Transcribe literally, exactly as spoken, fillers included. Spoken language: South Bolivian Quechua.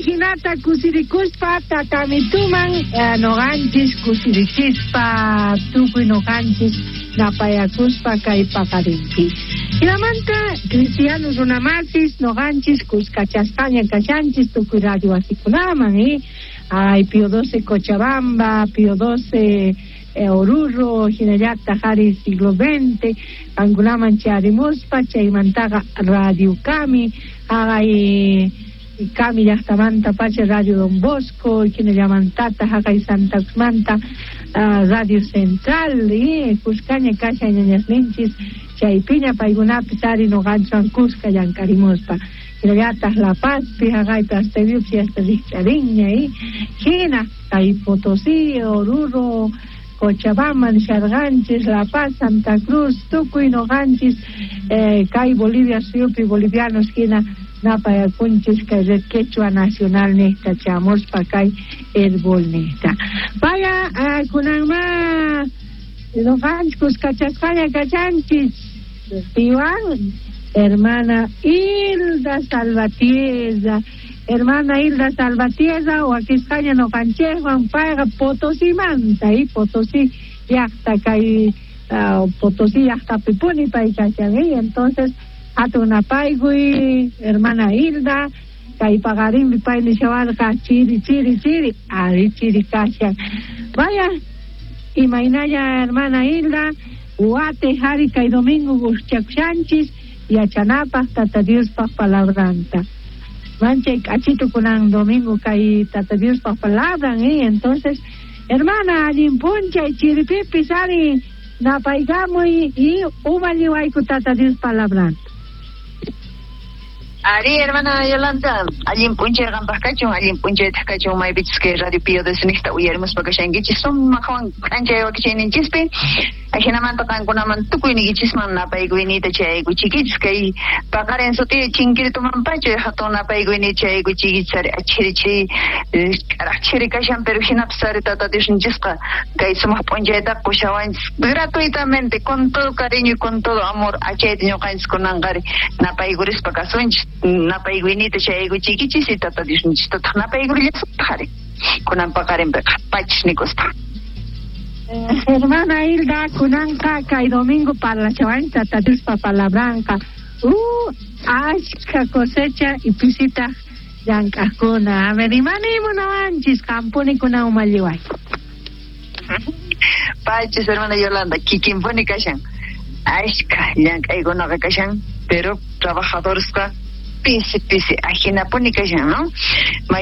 Ajinata kusirikuspa tatamituman eh, noqanchis kusirichispa tukuy noqanchis napayakuspa kay paqarinpi. Hinamanta cristiano runamasis noqanchis kuskachasqaña kashanchis tukuy radio wasikunaman, eh? Ay, Pío doce Cochabamba, Pío doce eh, Oruro, hinallataq ari siglo veinte, qankunaman charimuspa chaymantaqa Radio Kami, haqay Kami llaqtamanta pacha Radio Don Bosco, hinallamantata haqay Santa Cruzmanta uh, Radio Central, eh, kuskaña kashan ñañasninchis, chaypiña paykunapis ari noqanchwan kuska llank'arimuspa. Hinallataq La Pazpi haqaypi hasta Dios hasta rikch'arinña, eh. Hina kay Potosí, Oruro, Cochabamba nisharqanchis, La Paz, Santa Cruz, tukuy noqanchis, eh, kay Bolivia suyupi bolivianos hina napayakunchis kay Red Quechua Nacional nista chamuspa kay Herbol nista. Vaya, uh, kunanma noqanchis kuskachasqaña kachanchis piwan hermana Hilda Salvatierra. Hermana Hilda Salvatierra, wakisqaña noqanchikwan payqa Potosimanta, y Potosí llaqta kay uh, Potosí llaqtapipuni pay kashan, y entonces hatun napaykuy hermana Hilda kay paqarinpi pay nishawarqa chiri chiri chiri ari chiri kashan. Vaya, imaynalla hermana Hilda, wate hari kay domingo guschakushanchis yachanapaq Tata Diospaq palabranta. Manchay k'achitu kunan domingo kay Tata Diospaq palabran, eh? Entonces, hermana, allin p'unchay chiripipis ari napaykamuy y umalliwayku Tata Dios palabranta. Ari, hermana Yolanda, allin p'unchay qampaq kachun, allin p'unchaytaq kachun maypichus kay Radio Pío doce niqta uyarimuspa kashankichis sumaqwan k'anchay wakichayninchispi. Ajinamanta qankunaman tukuyniykichisman napaykuyniyta chayaykuchikichis kay paqarin sutiy chinkiritumanpacha hatun napaykuyniy chayaykuchikichis ari achhiri chiri k'araq chiri kashan, pero hinapis ari Tata Diosninchisqa kay sumaq p'unchaytaqa qushawanchis gratuitamente con todo cariño y con todo amor achayta ñuqanchis kunanqa ari napaykurispa kasunchis napaykuyniyta chayaykuchikichis y Tata Diosninchistataq napaykurillasutaq ari kunan paqarinpiqa pachis nikuspa. Eh, hermana Hilda, kunanqa kay domingo parlachawan Tata Diospa palabranqa. Uh, ashka cosecha y pisitaq llank'aqkuna. A ver, imani munawanchis qampuni kunan umalliway. Pachis, hermana Yolanda, kikinpuni kashan. Ashka llank'aykunaqa kashan, pero trabajadoresqa pisi pisi ajinapuni kashan, ¿no?